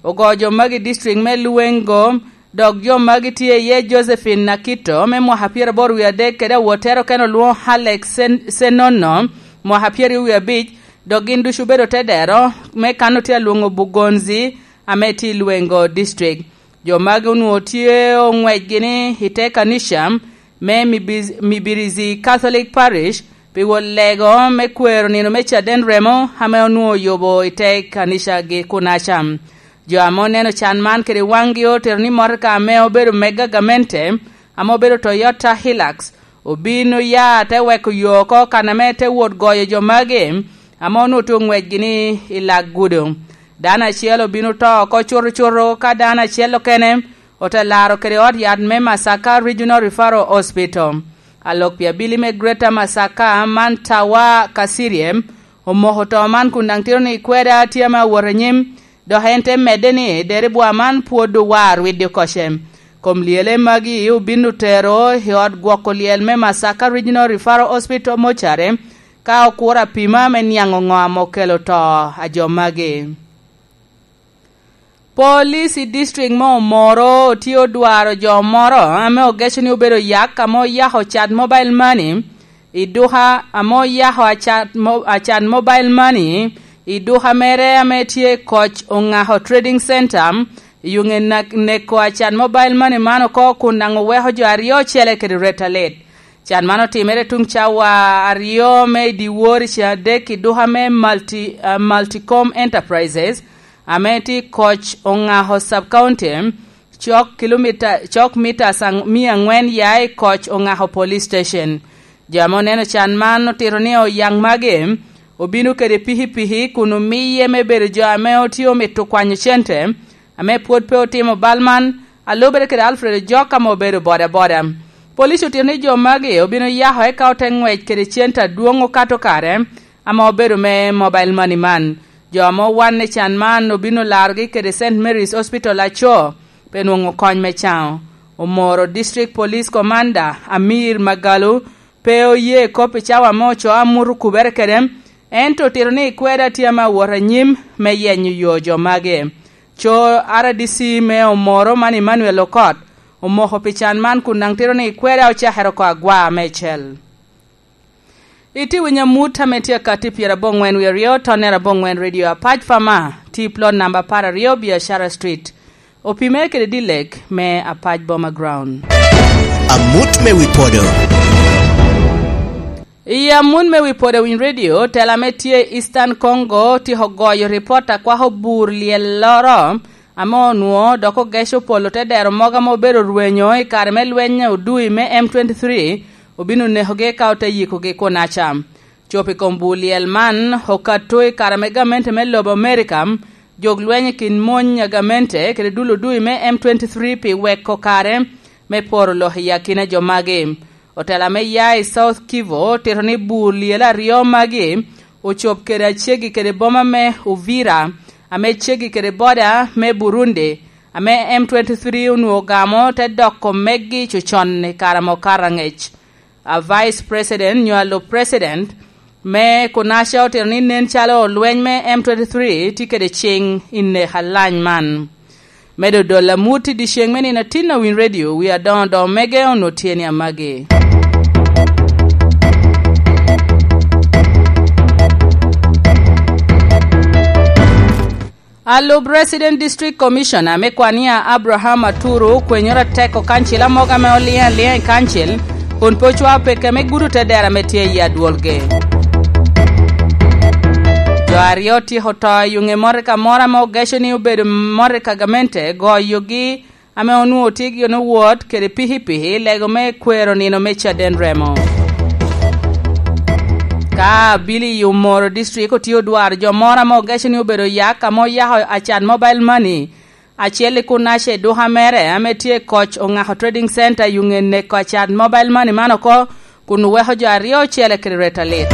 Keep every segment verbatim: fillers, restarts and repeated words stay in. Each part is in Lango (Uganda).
Ogo jo magi i district me Luengo, dok jo magi tye iye Josephine Nakito me mwaka pyeraboro wie adek kede awottere okene olwoŋo Alex Sen-, Senono, mwaka pyeraryo wie abic, dok gin ducu obedo te dero me kan otye alwoŋo Bugonzi ame tye i Luengo district. Jo magi onwoŋo tye oŋwecgi ni i te kanica me Mibi-, Mibirizi Catholic Parish pi wot lego me kwero nino me caden remo ame onwoŋo oyubo i te kanicagi kunaca. Jo ame oneno can man kede waŋgi otito ni motoka ame obedo mega gamente, ame obedo Toyota Hilux, obin oya te weko yo oko kan ame te wot goyo jo magi ame onwoŋo tye oŋwecgi ni i lak gudo. Dano acel obin oto oko cuto cuto ka dano acel okene ote laro kede ot yat me Masaka Regional Referral Hospital. Alok pi abili me Greater Masaka man Tawa Kasirye omoko to man kun daŋ tito ni kweda tye ame awot anyim, dok en te medde ni deribwa man pwod owar widdi oko ce. Kom lyele magi obin otero i ot gwoko lyel me Masaka Regional Referral Hospital Mortuary, ka okuro apima me niaŋ oŋo ame okelo to a jo magi. Police i district me Omoro tye odwaro jo moro ame ogeco ni obedo yak ame oyako cat mobile money i duka, ame oyako acat mo-, acat mobile money i duka mere ame tye i Koc Oŋako Trading Center, i yuŋe nak-, neko acat mobile money man oko kun daŋ oweko jo aryo ocele kede ret alit. Can man otimere tuŋ cawa aryo me i dyewor i ceng adek i duka me Multi-, ah, Multicom Enterprises, ame tye i Koc Oŋako Sub-County, cok kilomita, cok mita sang-, mia aŋwen ya i Koc Oŋako Police Station. Jo ame oneno can man otito ni oyaŋ magi obino kede pikipiki kun omiye me bedo jo ame otye omito kwanyo cente, ame pwod pe otimo bal man, a lubere kede Alfred Ojok ame obedo bodaboda. Police otito ni jo magi obino yako eka ote ŋwec kede cente adwoŋ okato kare ame obedo me mobile money man. Jo ame owanne can man obino larogi kede Saint Mary's Hospital Aco pe nwoŋo kony me caŋo. Omoro District Police Commander Amir Magalu pe oye kop i cawa ame ocoo amut okubere kede, ento otito ni kweda tye ame awot anyim me yenyo yo jo magi. Co R D C me Omoro man Emmanuel Okot omoko pi can man kun daŋ tito ni kweda ocakere oko agwa meicel. Itye winyo amut ame tye akatti pyerabongwen wie aryo, tonnere abongwen Radio Apac Pama, tye plot namba apar aryo Biashara Street. Opime kede Dilek me Apac Boma Ground. Amut me wi podo. I amut me wi podo Winy Radio, tela me tye i Eastern Congo tye ogoyo ripot akwako bur lyelloro ame onwoŋo dok ogeco polo te dero mogo ame obedo rwenyo i kare me lweny odui me M twenty-three, obino nekogi ka ote yikogi kunaca. Cobo i kom bur lyel man okato i kare ame gamente me lobo Amerika jok lweny i kin mony a gamente kede dul odui me M twenty-three pi weko kare me poro lok i akina jo magi. Otela me ya i South Kivu otito ni bur lyel aryo magi ocob kede acegi kede boma me Uvira, ame cegi kede boda me Burundi, ame M twenty-three onwoŋo ogamo te doko meggi cocon i kare ame okato angec. A Vice President nyo a lub President me kunaca otito ni nen calo lweny me M twenty-three tye kede cing i nek alany man. Me dodol amut i dyeceŋ me nino atin a Winy Radio, wi adoŋo doŋ mege onwoŋo tye ni amagi. A lub Resident District Commissioner me Kwania Abraham Aturu okwenyoro atek okancil amogo ame oliŋ aliŋa i kancil, kun pe ocwao peke me gudo te dero ame tye i adwolgi. Jo aryo otyeko to i yuŋe motoka moro ame ogeco ni obedo motoka gamente goyogi, ame onwoŋo tye gin owot kede pikipiki lego me kwero nino me caden remo. Ka abili i Omoro District otye odwaro jo moro ame ogeco ni obedo yak ame oyako acan mobile money acel i kunaca i duka mere ame tye i Koc Oŋako Trading Center i yuŋe neko acan mobile money man oko, kun oweko jo aryo ocele kede ret alit.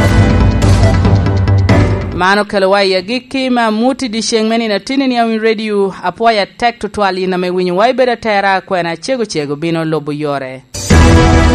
Man okelowa i agikki me amut i dyeceŋ me nino atinni a Winy Radio. Apwoyo atek tutwal in ame winyowa ibedo atera, kwena cego cego bino lubo yore.